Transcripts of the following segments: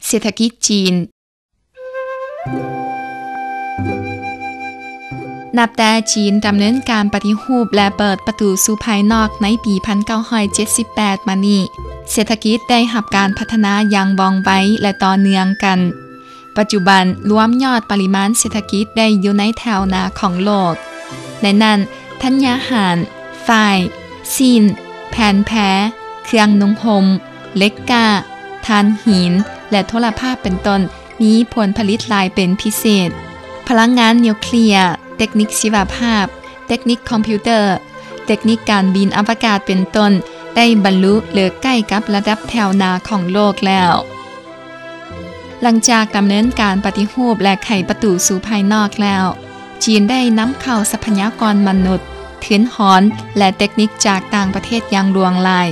ເສດຖະກິດຈີນ. ນັບແຕ່ຈີນດຳເນີນການປະຕິຮູບ ແລະ ເປີດປະຕູສູ່ພາຍນອກໃນປີພັນເກົ້າຮ້ອຍເຈັດສິບແປດມານີ້, ເສດຖະກິດໄດ້ຮັບການພັດທະນາຢ່າງວ່ອງໄວ ແລະ ຕໍ່ເນື່ອງກັນ. ປັດຈຸບັນລວມຍອດປະລິມານເສດຖະກິດໄດ້ຢູ່ໃນແຖວໜ້າຂອງໂລກ. ໃນນັ້ນ, ທັນຍາຫານ, ຝ້າຍ, ຊີ້ນ, ແຜ່ນແພ, ເຄື່ອງນຸ່ງຫົ່ມ, ເຫຼັກກ້າ, ຖ່ານຫີນ ແລະ ໂທລະພາບເປັນຕົ້ນ ມີຜົນຜະລິດຫຼາຍເປັນພິເສດ. ພະລັງງານນິວເຄລຍ, ເຕັກນິກຊີວະພາບ, ເຕັກນິກຄອມພິວເຕີ, ເຕັກນິກການບິນອະວະກາດເປັນຕົ້ນ ໄດ້ບັນລຸ ຫຼື ໃກ້ກັບລະດັບແຖວໜ້າຂອງໂລກແລ້ວ. ຫຼັງຈາກດຳເນີນການປະຕິຮູບ ແລະ ໄຂປະຕູສູ່ພາຍນອກແລ້ວ, ຈີນໄດ້ນຳເຂົ້າຊັບພະຍາກອນມະນຸດ, ທຶນຮອນ ແລະ ເຕັກນິກຈາກຕ່າງປະເທດຢ່າງຫຼວງຫຼາຍ,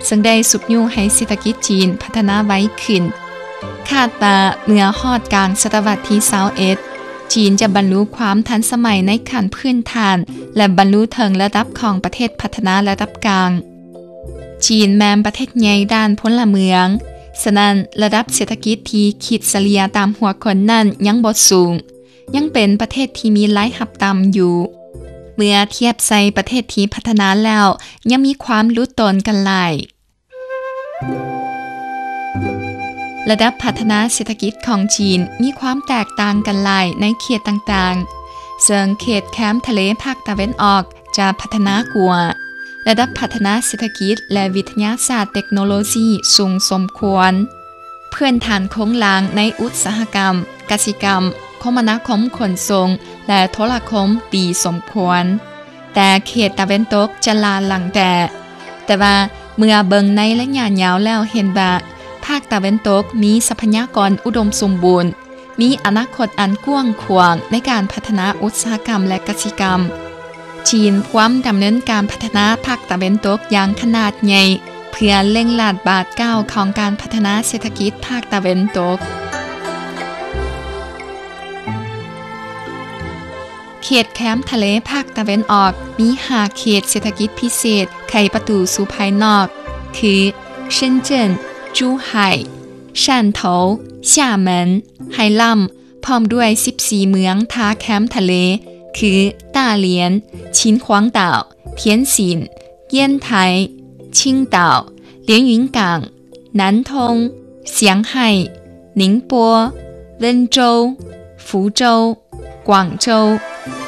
ເຊິ່ງໄດ້ຊຸກຍູ້ໃຫ້ເສດຖະກິດຈີນພັດທະນາໄວຂຶ້ນ. ຄາດວ່າເມື່ອຮອດກາງສະຕະວັດທີຊາວເອັດ, ຈີນຈະບັນລຸຄວາມທັນສະໄໝໃນຂັ້ນພື້ນຖານ ແລະ ບັນລຸເຖິງລະດັບຂອງປະເທດພັດທະນາລະດັບກາງ. ຈີນແມ່ນປະເທດໃຫຍ່ດ້ານພົນລະເມືອງ, ສະນັ້ນ ລະດັບເສດຖະກິດທີ່ຄິດສະເລ່ຍຕາມຫົວຄົນນັ້ນຍັງບໍ່ສູງ, ຍັງເປັນປະເທດທີ່ມີລາຍຮັບຕ່ຳຢູ່. ເມື່ອທຽບໃສ່ປະເທດທີ່ພັດທະນາແລ້ວ, ຍັງມີຄວາມຫຼຸດໂຕນກັນຫຼາຍ. ລະດັບພັດທະນາເສດຖະກິດຂອງຈີນມີຄວາມແຕກຕ່າງກັນຫຼາຍໃນເຂດຕ່າງໆ, ເຊິ່ງເຂດແຄມທະເລພາກຕາເວັນອອກຈະພັດທະນາກວ່າ. ລະດັບພັດທະນາເສດຖະກິດ ແລະ ວິທະຍາສາດເຕັກໂນໂລຊີສູງສົມຄວນ. ພື້ນຖານໂຄງລ່າງໃນອຸດສາຫະກຳ, ກະສິກຳ, ຄົມມະນາຄົມຂົນສົ່ງ ແລະ ໂທລະຄົມດີສົມຄວນ. ແຕ່ເຂດຕາເວັນຕົກຈະລ້າຫຼັງແດ່. ແຕ່ວ່າເມື່ອເບິ່ງໃນໄລຍະຍາວແລ້ວເຫັນວ່າ ພາກຕາເວັນຕົກມີຊັບພະຍາກອນອຸດົມສົມບູນ, ມີອະນາຄົດອັນກວ້າງຂວາງໃນການພັດທະນາອຸດສາຫະກຳ ແລະ ກະສິກຳ. ຈີນພວມດຳເນີນການພັດທະນາພາກຕາເວັນຕົກຢ່າງຂະໜາດໃຫຍ່ ເພື່ອເລັ່ງລາດບາດກ້າວຂອງການພັດທະນາເສດຖະກິດພາກຕາເວັນຕົກ. ເຂດແຄມທະເລພາກຕາເວັນອອກມີຫ້າເຂດເສດຖະກິດພິເສດໄຂປະຕູສູ່ພາຍນອກ ຄື ເຊິນເຈິນ, ຈູ່ໄຫ່, ຊານໂຖ, ຊາເໝິນ, ໄຮລຳ ພ້ອມດ້ວຍສິບສີ່ເມືອງທ່າແຄມທະເລ ຄື ຕາຫຼຽນ, ຊິນຂວາງດາວ, ທຽນຊິນ, ຢ້ຽນໄທ, ຊິງດາວ, ຫຼຽນຫວິງກາງ, ນັນທົງ, ຊຽງໄຮ້, ນິງປົວ, ເວິນໂຈວ, ຟູໂຈວ, ກວາງໂຈວ,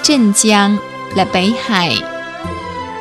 ເຈິນຈຽງ ແລະ ເປັຍໄຫ່.